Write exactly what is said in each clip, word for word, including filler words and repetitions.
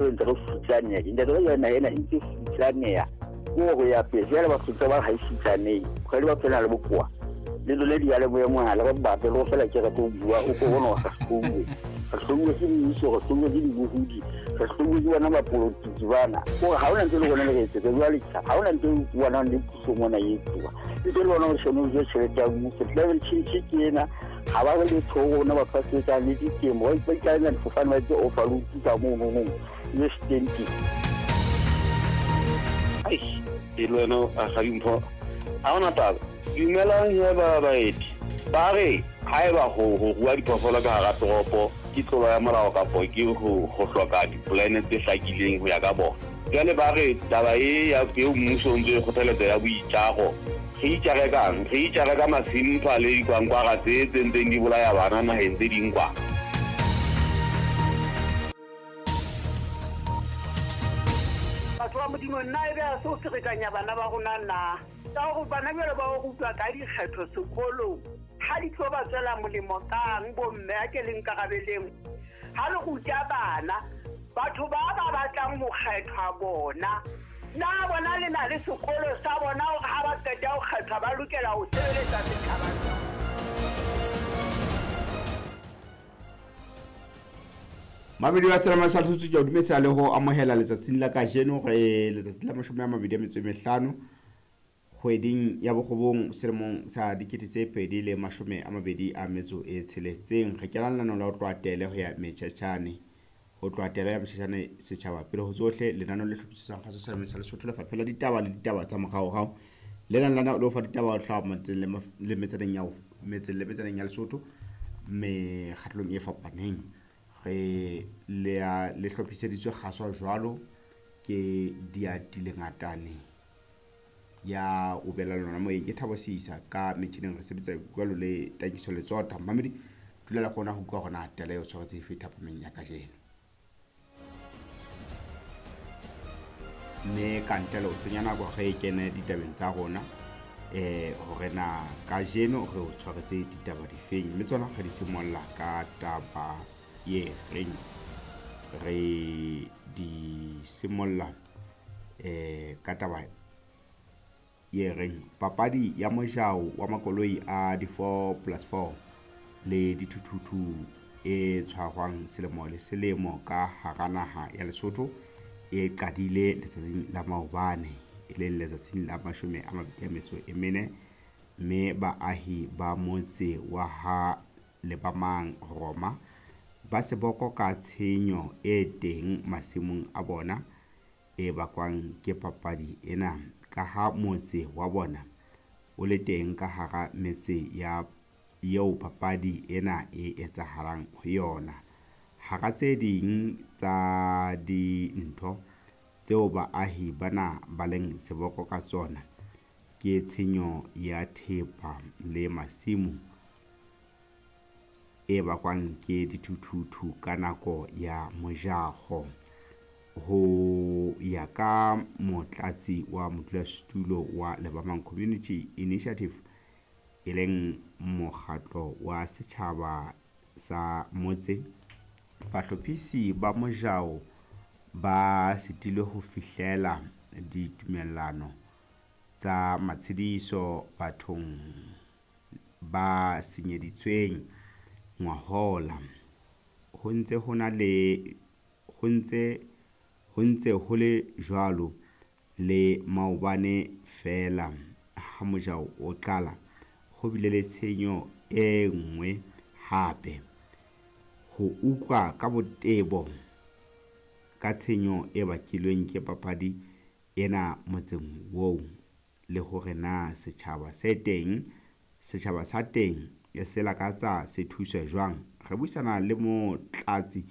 Ntse re futsaneha ntate ka yona ena e ntse futsaneha ko go ya pele jwale Basotho ba ha e futsanehe kgwedi ba phela le bokoa le lole diyalemoya mohala ba bape le go fela ke re tlo bua o ko bona re hlouwe re hlouwe ke mmuso re hlouwe ke dibohodi re hlouwe ke bona bapolotiki bana kore ha hona ntho e le rona le re etsetsa jwale ha hona ntho e bonang le puso mona e etsuwa e tse le bona o shone o je tjhelete ya mmuso climate change ke ena ha ba re letho ho rona batho ba sebetsang le ditemo ba ikaela difofane ba etse overload ka mono le stenti. Ai e le wena a ga dimpho ha hona taba. Dumelang he ba baeti ba re haeba ho ho rua diphoofolo ka hara toropo ke tlolo ya molao kapo ke ho ho hloka dipolane tse hlakileng ho ya ka bona. Jwale ba re taba e ya eo mmuso o ntse e kgothaletsa ya boitjaro re itjare kang re itjare ka masimpa le dikwankwara tse tse ntseng di bolaya bana naheng tse ding kwa. Batho ba Modimo nna e be a se o ferekanya bana ba rona na ka gore bana bjalo ba o rutwa ka dikgetho sekolong ha di tlo ba tswela molemo kang bomme a ke le nkarabeleng ha le ruta bana batho ba ba batlang ho kgethwa bona na bona le na le sekolo sa bona hore ha ba qeta ho kgethwa ba lokela ho sebeletsa setjhaba. Mabedi wa selama sa Lesotho ke o dumedisa le ho amohela letsatsing la kajeno re letsatsi la mashome a mabedi a metso e mehlano kgweding ya bokgobong selemong sa dikete tse pedi le mashome a mabedi a metso e tsheletseng. Re kena lenaneo la ho tloha tele ho ya metjhetjhane ho tloha tele ya metjhetjhane setjhaba pele ho tsohle lenaneo le hlophisitsweng kgaso selemong sa Lesotho Lefapha la Ditaba le ditaba tsa moraorao le nang lana le ho fa ditaba ho hlaha motseng le metsaneng ya metseng le metsaneng ya Lesotho mekgatlong e fapaneng. Re le a le hlophiseditswe kgaswa jwalo ke Diatile Ngatane ya o bela lona moyeng ke Thabo Seisa ka metjhineng re sebetsa jwalo le Takiso Letsota. Mamedi dula le kgona ho utlwa hore na tele e tshwaretse efe thapameng ya kajeno mme ka ntle le ho senya nako re kene ditabeng tsa rona eh hore na kajeno re o tshwaretse ditaba difeng mme tsona re di simolla ka taba ye reng re di simolla eh ka taba ye reng papadi ya mojao wa makoloi a di four plus four le dithuthuthu e tshwarwang selemo le selemo ka hara naha ya Lesotho e qadile letsatsing la maobane e leng letsatsing la mashome a mabedi a metso e mene mme baahi ba motse wa ha Lebamang Roma ba seboko ka tshenyo e teng masimong a bona e bakwang ke papadi ena ka ha motse wa bona o le teng ka hara metse ya eo papadi ena e etsahalang ho yona. Hara tse ding tsa dintho tseo baahi bana ba leng seboko ka tsona ke tshenyo ya thepa le masimo e bakwang ke dithuthuthu ka nako ya mojaho. Ho ya ka motlatsi wa modulasetulo wa Lebamang Community Initiative e leng mokgatlo wa setjhaba sa motse, bahlophisi ba mojao ba sitilwe ho fihlela ditumellano tsa matshediso bathong ba senyeditsweng ngwahola. Ho ntse ho na le ho ntse ho ntse ho le jwalo le maobane feela ha mojao o qala ho bile le tshenyo e nngwe hape. Ho utlwa ka botebo ka tshenyo e bakilweng ke papadi ena motseng oo le hore na setjhaba se teng setjhaba sa teng e se lakatsa se thuswe jwang. Re buisana le motlatsi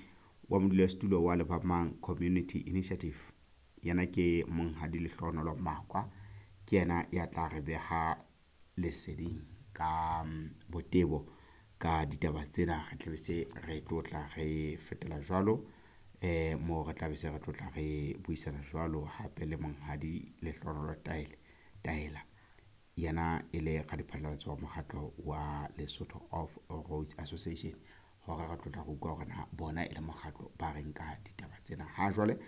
wa modulasetulo wa Lebamang Community Initiative yena ke Monghadi Lehlohonolo Makwa ke yena ya tla re beha leseding ka botebo ka ditaba tsena. Re tla be se re tlotla re fetela jwalo eh mo re tla be se re tlotla re buisana jwalo hape le Monghadi Lehlohonolo Taele Taela yena e le radiphatlalatso wa mokgatlo wa Lesotho Off Roads Association. Hore re tlo tla re utlwa hore na bona e le mokgatlo ba reng ka ditaba tsena. Ha jwale.